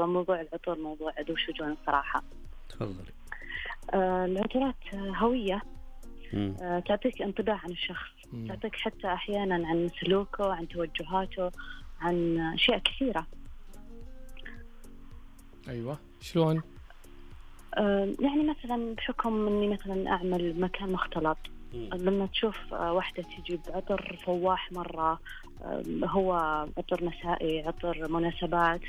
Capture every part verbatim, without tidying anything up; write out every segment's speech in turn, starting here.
فموضوع العطور موضوع ذو شجون الصراحة. تفضلي. آه العطورات هوية، آه تعطيك انطباع عن الشخص، مم. تعطيك حتى أحيانا عن سلوكه، عن توجهاته، عن أشياء كثيرة. أيوة شلون؟ آه يعني مثلا بحكم أني مثلا أعمل مكان مختلط، لما تشوف واحدة تجيب عطر فواح مرة، هو عطر مسائي، عطر مناسبات،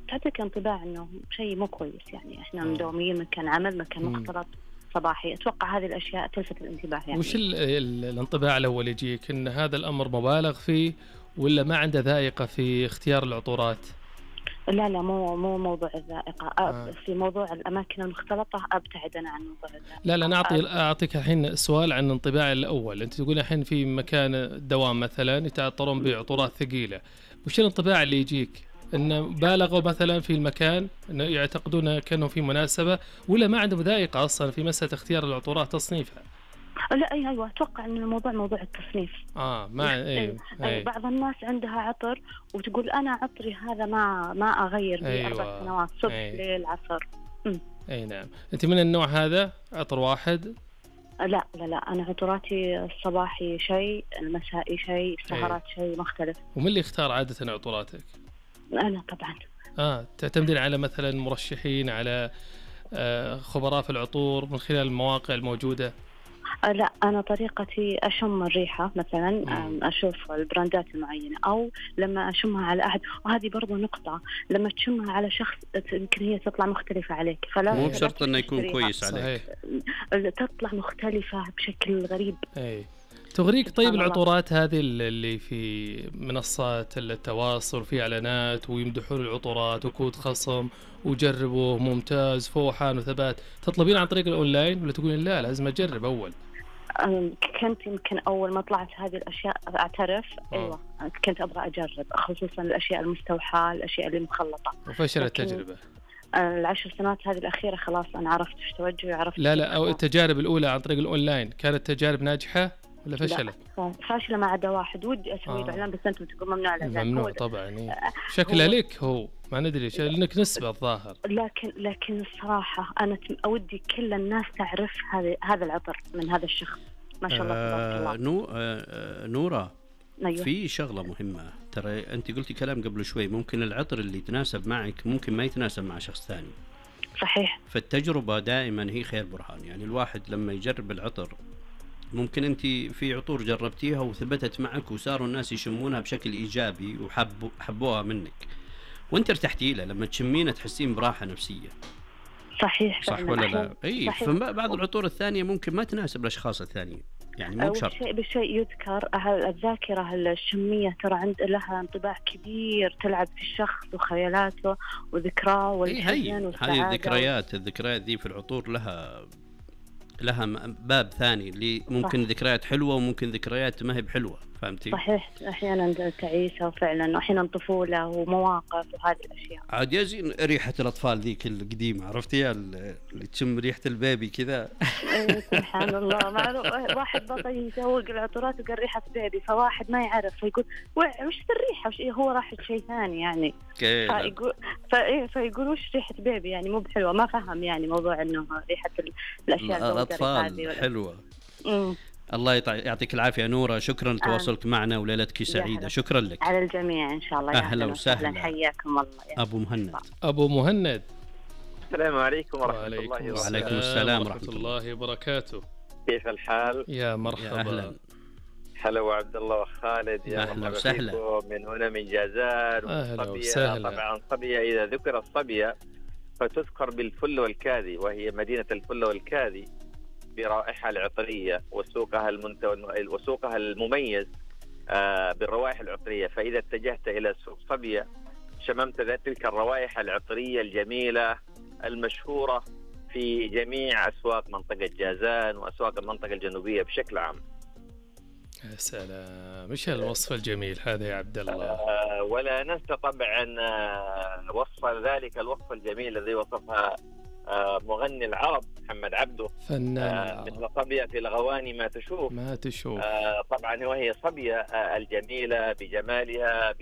تعطيك انطباع أنه شيء مو كويس. يعني إحنا مدومين مكان عمل، مكان مختلط صباحي، أتوقع هذه الأشياء تلفت الانتباه. يعني وش الانطباع الأول يجيك أن هذا الأمر مبالغ فيه ولا ما عنده ذائقة في اختيار العطورات؟ لا لا مو مو موضوع الذائقة. آه. في موضوع الأماكن المختلطة أبتعد أنا عن موضوع الذائقة. لا لا نعطي أعطيك الحين سؤال عن انطباع الأول. أنت تقول الحين في مكان دوام مثلا يتعطرون بعطورات ثقيلة، وش الانطباع اللي يجيك؟ إنه بالغوا مثلا في المكان، إنه يعتقدون كأنه في مناسبة، ولا ما عندهم ذائقة أصلا في مسألة اختيار العطورات تصنيفها؟ لا أي أيوة أتوقع إن الموضوع موضوع التصنيف. آه ما أي أي بعض الناس عندها عطر وتقول أنا عطري هذا ما ما أغير به أيوة. أربع سنوات صبح أي. ليل عصر. م. أي نعم. أنت من النوع هذا عطر واحد؟ لا لا لا أنا عطراتي الصباحي شيء، المسائي شيء، السهرات شيء مختلف. ومن اللي يختار عادة عطوراتك؟ أنا طبعا. آه تعتمدين على مثلا مرشحين، على آه خبراء في العطور من خلال المواقع الموجودة؟ لا أنا طريقتي أشم الريحة مثلا، أشوف البراندات المعينة، أو لما أشمها على أحد، وهذه برضو نقطة، لما تشمها على شخص يمكن هي تطلع مختلفة عليك، فلا مو بشرط أنه يكون كويس عليك، تطلع مختلفة بشكل غريب. أي. تغريك طيب العطورات هذه اللي في منصات التواصل، في إعلانات ويمدحون العطورات وكود خصم وجربوا ممتاز فوحان وثبات، تطلبين عن طريق الأونلاين ولا تقولين لا لازم أجرب أول؟ كنت يمكن أول ما طلعت هذه الأشياء أعترف أوه. أيوة كنت أبغى أجرب، خصوصا الأشياء المستوحاة، الأشياء اللي مخلطة. وفشلت التجربة؟ العشر سنوات هذه الأخيرة خلاص أنا عرفت إيش توجهي وعرفت. لا لا أو التجارب الأولى عن طريق الأونلاين كانت تجارب ناجحة ولا فشلت؟ فاشلة ما عدا واحد ودي أسوي له إعلان، بس أنتم تقول ممنوع الإعلان. ممنوع طبعا. إيه. شكله لك هو ما ندري شو لأنك نسبة الظاهر. لكن لكن الصراحة أنا أودي كل الناس تعرف هذا هذا العطر من هذا الشخص ما شاء الله تبارك الله. آه نو آه نورة. أيوة. في شغلة مهمة ترى، أنت قلتي كلام قبل شوي، ممكن العطر اللي يتناسب معك ممكن ما يتناسب مع شخص ثاني. صحيح. فالتجربة دائما هي خير برهان. يعني الواحد لما يجرب العطر، ممكن أنت في عطور جربتيها وثبتت معك وصاروا الناس يشمونها بشكل إيجابي وحبوا حبوها منك، وأنت ارتحتي لها، لما تشمينها تحسين براحة نفسية. صحيح. صح ولا لا؟ أي. فبعض العطور الثانية ممكن ما تناسب الأشخاص الثانيين، يعني مو بشرط. شيء بشيء يذكر الذاكرة الشمية ترى عند لها انطباع كبير، تلعب في الشخص وخيالاته وذكراه والحزن والسعادة. هذه الذكريات الذكريات دي في العطور لها لها باب ثاني، اللي ممكن صح. ذكريات حلوة وممكن ذكريات ما هي بحلوة، فهمتي؟ صحيح. أحيانا تعيسة وفعلا، وأحيانا طفولة ومواقف وهذه الأشياء. عاد يزين ريحة الأطفال ذيك القديمة، عرفتيها اللي تشم ريحة البيبي كذا. سبحان الله. مع واحد بطل يسوق العطورات وقال ريحة بيبي، فواحد ما يعرف فيقول وش الريحة، وش هو راح شيء ثاني يعني. فيقول فيقول وش ريحة بيبي يعني مو بحلوة، ما فهم يعني موضوع إنه ريحة الأشياء الأطفال حلوة. مم. الله يعطيك العافية نورة، شكرا لتواصلك آه. معنا وليلتك سعيدة. شكرا لك. على الجميع إن شاء الله. أهلا وسهلا. حياكم الله. أبو مهند. أبو مهند. السلام عليكم ورحمة الله وبركاته. وعليكم السلام ورحمة الله وبركاته. كيف الحال؟ يا مرحبا. أهلا. هلا وعبد الله وخالد، يا أهلا وسهلا. من هنا من جازان. أهلا وسهلا. طبعا صبية، إذا ذكر الصبية فتذكر بالفل والكاذي، وهي مدينة الفل والكاذي برائحة العطرية وسوقها المنت... وسوقها المميز آه بالروائح العطرية. فإذا اتجهت إلى سوق صبية شممت تلك الروائح العطرية الجميلة المشهورة في جميع أسواق منطقة جازان وأسواق المنطقة الجنوبية بشكل عام. يا سلام، ايش هالوصف الجميل هذا يا عبد الله. آه ولا ننسى طبعا وصف ذلك الوصف الجميل الذي وصفها آه مغني العرب محمد عبده، فنان آه مثل صبية في الغواني ما تشوف ما تشوف. آه طبعا وهي صبية آه الجميلة بجمالها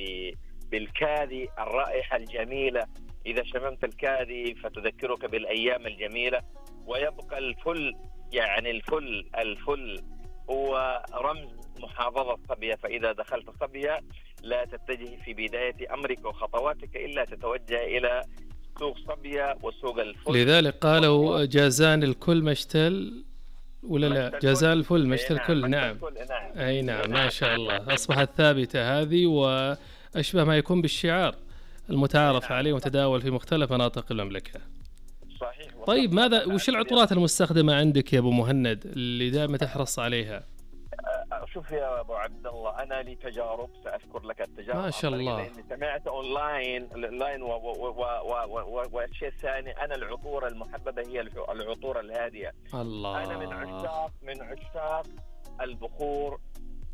بالكاذي، الرائحة الجميلة إذا شممت الكاذي فتذكرك بالأيام الجميلة. ويبقى الفل، يعني الفل الفل هو رمز محافظة صبية. فإذا دخلت صبية لا تتجه في بداية أمرك وخطواتك إلا تتوجه إلى سوق صبية وسوق الفل. لذلك قالوا جازان الكل مشتل ولا لا؟ جازان الفل مشتل الكل. نعم. نعم أي نعم، ما شاء الله، أصبحت ثابتة هذه وأشبه ما يكون بالشعار المتعارف عليه ومتداول في مختلف مناطق المملكة. صحيح. طيب ماذا وش العطورات المستخدمة عندك يا أبو مهند اللي دائما تحرص عليها؟ شوف يا أبو عبد الله، أنا لي تجارب سأذكر لك التجارب. ما شاء الله. لأني سمعت أونلاين أونلاين والشيء الثاني، أنا العطور المحببة هي العطور الهادية. الله. أنا من عشاق من عشاق البخور.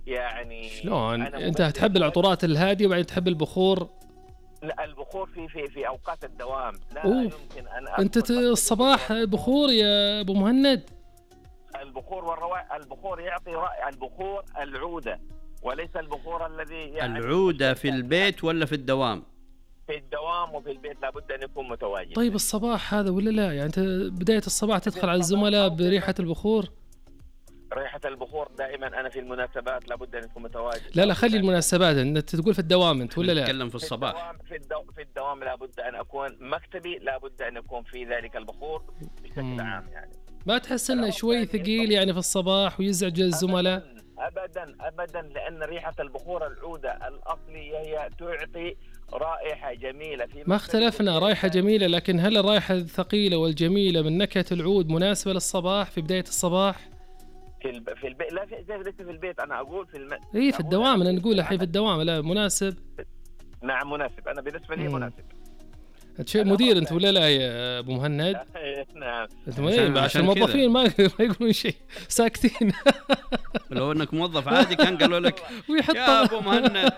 يعني شلون أنت تحب العطورات الهادية وبعدين تحب البخور؟ لا، البخور في في في أوقات الدوام. لا, لا يمكن أن أنت الصباح بخور يا أبو مهند. البخور والروائح، البخور يعطي رائحة، البخور العودة وليس البخور الذي يعني العودة في البيت ولا في الدوام؟ في الدوام وفي البيت لابد أن يكون متواجد. طيب الصباح هذا ولا لا؟ يعني أنت بداية الصباح تدخل على الزملاء بريحة البخور؟ ريحة البخور دائما أنا في المناسبات لابد أن يكون متواجد. لا لا خلي المناسبات، أنت تقول في الدوام أنت ولا لا؟ نتكلم في الصباح. في الدوام في, الدو... في الدوام لابد أن أكون مكتبي، لابد أن يكون في ذلك البخور بشكل مم. عام. يعني ما تحس انه شوي ثقيل يعني في الصباح ويزعج الزملاء؟ ابدا ابدا، لان ريحه البخور العوده الاصليه هي تعطي رائحه جميله. في ما اختلفنا، رائحه جميله، لكن هل الرائحه الثقيله والجميله من نكهه العود مناسبه للصباح في بدايه الصباح؟ في الب... في البيت لا، في ليس في البيت، انا اقول في الم... اي في الدوام، انا نقول الحين في الدوام. لا مناسب. نعم مناسب، انا بالنسبه لي مناسب. انت شيء مدير انت ولا لا يا ابو مهند؟ نعم. انت عشان, عشان الموظفين ما ما يقولون شيء، ساكتين. لو انك موظف عادي كان قالوا لك يا ابو مهند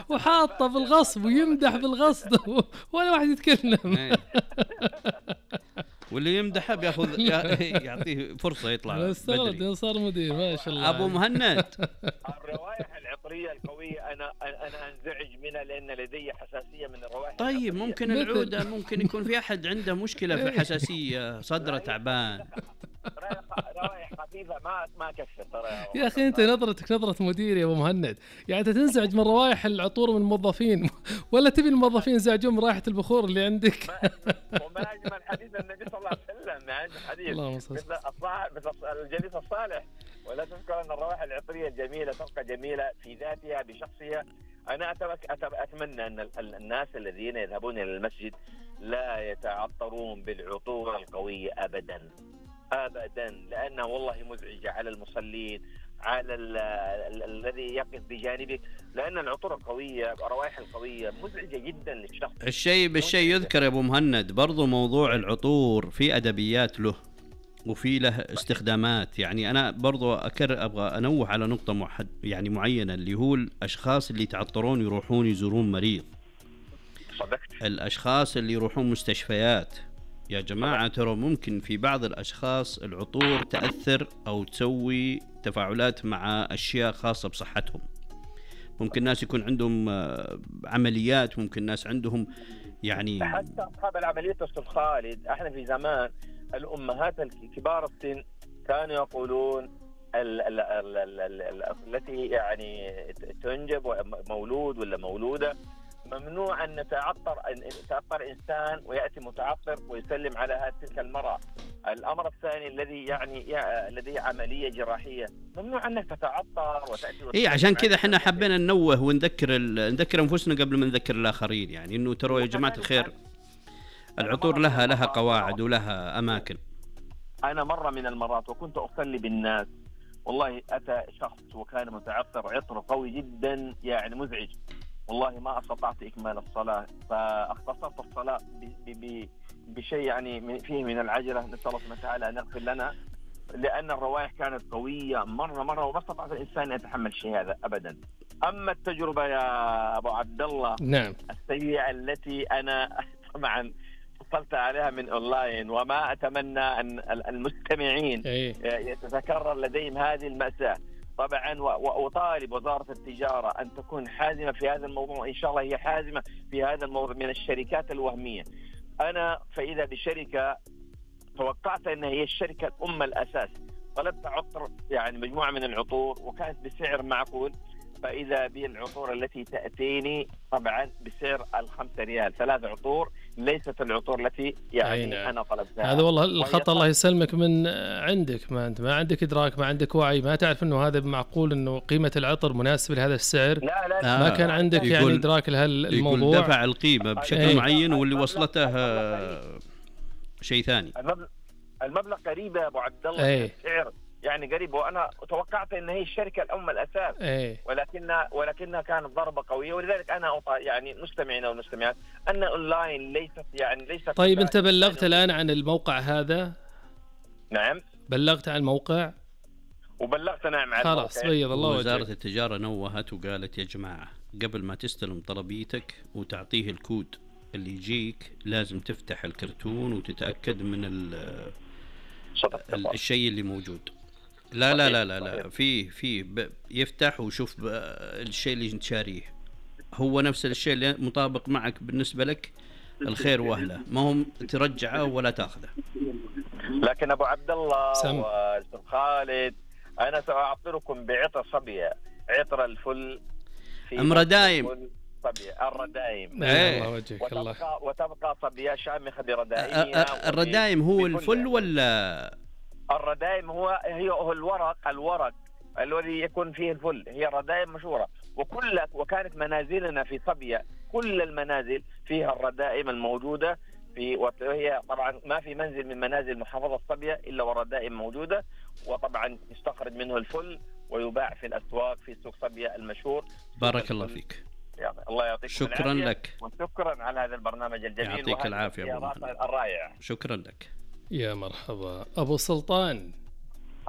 وحاطه بالغصب ويمدح بالغصب ولا واحد يتكلم. واللي يمدحه بياخذ يعطيه فرصه يطلع بدري. صار مدير ما شاء الله. ابو مهند، الروائح العطريه القويه انا انا انزعج منها لان لدي حساسيه من الروائح. طيب ممكن العوده، ممكن يكون في احد عنده مشكله في الحساسيه، صدره تعبان. روائح خفيفه ما ما كفر ترى يا اخي. انت نظرتك نظره مدير يا ابو مهند، يعني انت تنزعج من روائح العطور من الموظفين ولا تبي الموظفين ينزعجون من رائحه البخور اللي عندك؟ وما اجمل حديث النبي صلى الله عليه وسلم، يعني حديث مثل الصاحب مثل الجليس الصالح. ولا تذكر ان الروائح العطريه الجميله تبقى جميله في ذاتها بشخصها. انا اتمنى ان الناس الذين يذهبون الى المسجد لا يتعطرون بالعطور القويه ابدا ابدا، لانها والله مزعجه على المصلين، على الذي يقف بجانبك، لان العطور القويه الروائح القويه مزعجه جدا للشخص. الشيء بالشيء يذكر يا ابو مهند، برضو موضوع العطور في ادبيات له وفي له استخدامات. يعني انا برضو أكر ابغى انوه على نقطه محد يعني معينه، اللي هو الاشخاص اللي يتعطرون يروحون يزورون مريض. صدقت. الاشخاص اللي يروحون مستشفيات يا جماعة، ترى ممكن في بعض الأشخاص العطور تأثر أو تسوي تفاعلات مع أشياء خاصة بصحتهم. ممكن ناس يكون عندهم عمليات، ممكن ناس عندهم يعني حتى أصحاب العمليات. أستاذ خالد، احنا في زمان الأمهات الكبار السن كانوا يقولون ال ال ال ال ال ال التي يعني تنجب مولود ولا مولودة ممنوع أن نتعطر أن يتعطر إنسان ويأتي متعطر ويسلم على تلك المرأة. الأمر الثاني الذي يعني الذي عملية جراحية ممنوع أنك تتعطر وتأتي. إيه عشان كذا إحنا حبينا ننوه ونذكر نذكر أنفسنا قبل ما نذكر الآخرين، يعني إنه ترى يا جماعة الخير العطور لها لها قواعد ولها أماكن. أنا مرة من المرات وكنت أصلي بالناس، والله أتى شخص وكان متعطر عطر قوي جدا يعني مزعج، والله ما استطعت إكمال الصلاة، فاختصرت الصلاة بشيء يعني فيه من العجلة. نسأل الله سبحانه وتعالى أن يغفر لنا، لأن الروائح كانت قوية مرة مرة وما استطاع الإنسان أن يتحمل شيء هذا أبدا. أما التجربة يا أبو عبد الله نعم السيئة التي أنا طبعا حصلت عليها من أونلاين، وما أتمنى أن المستمعين أيه. يتذكر لديهم هذه المأساة. طبعا وأطالب وزارة التجارة أن تكون حازمة في هذا الموضوع، إن شاء الله هي حازمة في هذا الموضوع من الشركات الوهمية. أنا فإذا بشركة توقعت أن هي الشركة الأم الأساس، طلبت عطر يعني مجموعة من العطور وكانت بسعر معقول، فإذا بالعطور التي تأتيني طبعا بسعر الخمسة ريال، ثلاث عطور ليست العطور التي يعني نعم. أنا طلبتها. هذا والله الخطأ الله يسلمك من عندك، ما أنت ما عندك إدراك، ما عندك وعي، ما تعرف إنه هذا معقول إنه قيمة العطر مناسبة لهذا السعر. لا لا لا ما كان عندك يعني إدراك لهالموضوع. يقول دفع القيمة بشكل ايه. معين واللي وصلته شيء ثاني. المبلغ, المبلغ قريب يا أبو عبد الله ايه. السعر يعني قريب، وانا توقعت ان هي الشركه الام الاساس ايه. ولكنها ولكنها كانت ضربه قويه، ولذلك انا يعني مستمعين والمستمعات ان اونلاين ليست يعني ليست. طيب انت بلغت الان عن الموقع هذا؟ نعم بلغت عن الموقع وبلغت نعم عن خلاص بيض الله وجهك. وزاره التجاره نوهت وقالت يا جماعه قبل ما تستلم طلبيتك وتعطيه الكود اللي يجيك لازم تفتح الكرتون وتتاكد من الشيء اللي موجود. لا لا لا لا لا في في يفتح وشوف الشيء اللي انت شاريه هو نفس الشيء اللي مطابق معك بالنسبة لك، الخير واهله، ما هم ترجعه ولا تاخذه. لكن ابو عبد الله واستاذ خالد انا ساعطركم بعطر صبيه، عطر الفل في امر دايم صبيه الردايم. الله وجهك وتبقى الله. وتبقى صبيه شامخه بردائمها. الردايم هو الفل ولا الردايم؟ هو هي هو الورق الورق الذي يكون فيه الفل، هي الردائم مشهورة. وكل وكانت منازلنا في صبية كل المنازل فيها الردائم الموجودة في، وهي طبعا ما في منزل من منازل محافظة صبية إلا والردائم موجودة، وطبعا يستخرج منه الفل ويباع في الأسواق في سوق صبية المشهور. بارك الله فيك. الله يعطيك شكرا لك وشكرا على هذا البرنامج الجميل. يعطيك العافية الرائع. شكرا لك. يا مرحبا أبو سلطان.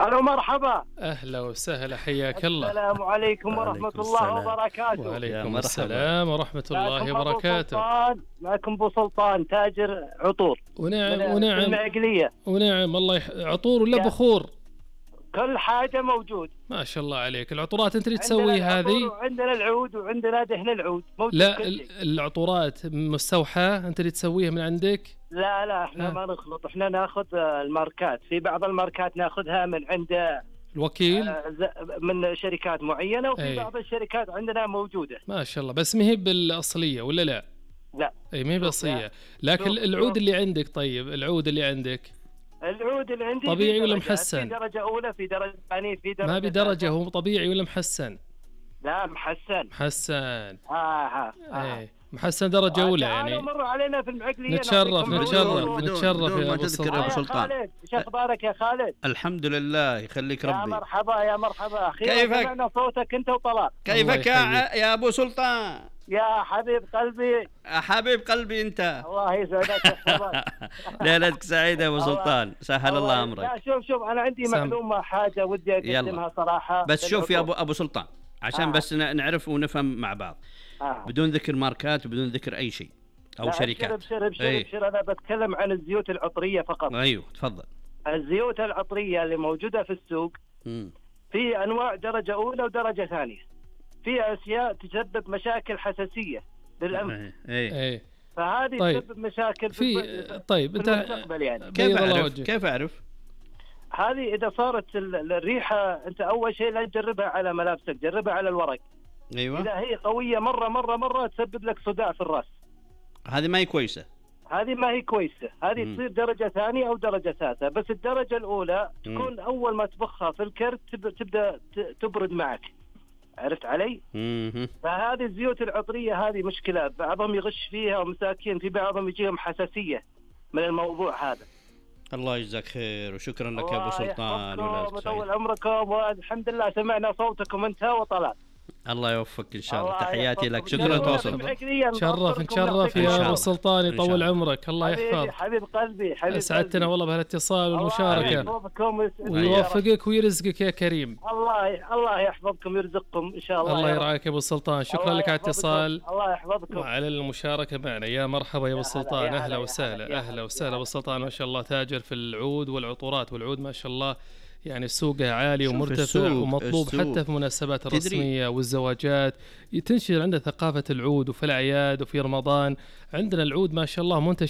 ألو مرحبا. أهلا وسهلا حياك الله. السلام عليكم ورحمة الله وبركاته. وعليكم السلام ورحمة الله وبركاته. معكم أبو سلطان تاجر عطور. ونعم ونعم. المعقلية. ونعم الله يح... عطور ولا بخور؟ كل حاجة موجود. ما شاء الله عليك. العطورات أنت اللي تسوي هذه؟ عندنا العود وعندنا دهن العود موجود. لا العطورات مستوحاة أنت اللي تسويها من عندك؟ لا لا احنا ما نخلط، احنا ناخذ الماركات، في بعض الماركات ناخذها من عند الوكيل من شركات معينة، وفي أي. بعض الشركات عندنا موجودة. ما شاء الله. بس ما هي بالأصلية ولا لا؟ لا اي ما هي بالأصلية. لكن العود اللي عندك، طيب العود اللي عندك العود اللي عندي طبيعي ولا محسن؟ في درجة أولى، في درجة ثانية، في درجة ما بدرجة. هو طبيعي ولا محسن؟ لا محسن. محسن. آه آه. آه. محسن درجة أولى يعني. مروا علينا في المعقلية. نتشرف نتشرف نتشرف يا أبو سلطان. أبو سلطان. إيش أخبارك يا خالد؟ الحمد لله يخليك ربي. يا مرحبا يا مرحبا. أخيرا سمعنا صوتك أنت وطلال. كيفك يا أبو سلطان؟ يا حبيب قلبي. حبيب قلبي أنت. الله يسعدك يحفظك. ليلتك سعيدة يا أبو سلطان، سهل الله أمرك. لا شوف شوف أنا عندي سم. معلومة حاجة ودي أقدمها صراحة. بس شوف يا أبو أبو سلطان عشان آه. بس نعرف ونفهم مع بعض. آه. بدون ذكر ماركات وبدون ذكر أي شيء أو شركات. ابشر ابشر أيه. ابشر أنا بتكلم عن الزيوت العطرية فقط. أيوه تفضل. الزيوت العطرية اللي موجودة في السوق م. في أنواع درجة أولى ودرجة ثانية، في أشياء تسبب مشاكل حساسية للأنف. أيه. أيه. فهذه طيب. تسبب مشاكل في, في طيب في المستقبل يعني. كيف أعرف؟ كيف أعرف؟ هذه إذا صارت الريحة أنت أول شيء لا تجربها على ملابسك، جربها على الورق. أيوة. إذا هي قوية مرة مرة مرة تسبب لك صداع في الرأس. هذه ما هي كويسة. هذه ما هي كويسة، هذه تصير درجة ثانية أو درجة ثالثة. بس الدرجة الأولى تكون مم. أول ما تبخها في الكرت تبدأ تبرد معك. عرفت علي؟ مم. فهذه الزيوت العطرية هذه مشكلة، بعضهم يغش فيها ومساكين، في بعضهم يجيهم حساسية من الموضوع هذا. الله يجزاك خير وشكرا لك يا أبو سلطان. وطول عمركم، والحمد لله سمعنا صوتكم أنت وطلال. الله يوفقك إن شاء الله. تحياتي لك. شكرا تواصل. تشرف نتشرف يا أبو سلطان، يطول عمرك. الله يحفظ. حبيب قلبي حبيب أسعدتنا والله بهالاتصال والمشاركة، ويوفقك ويرزقك يا كريم. الله الله يحفظكم ويرزقكم إن شاء الله. الله يرعاك يا أبو سلطان. شكرا لك على الاتصال. الله يحفظكم وعلى المشاركة معنا. يا مرحبا يا أبو سلطان. أهلا وسهلا. أهلا وسهلا أبو سلطان. ما شاء الله تاجر في العود والعطورات، والعود ما شاء الله يعني سوقه عالي ومرتفع ومطلوب السوق. حتى في مناسبات الرسمية والزواجات تنشر عنده ثقافة العود، وفي الأعياد وفي رمضان عندنا العود ما شاء الله منتشر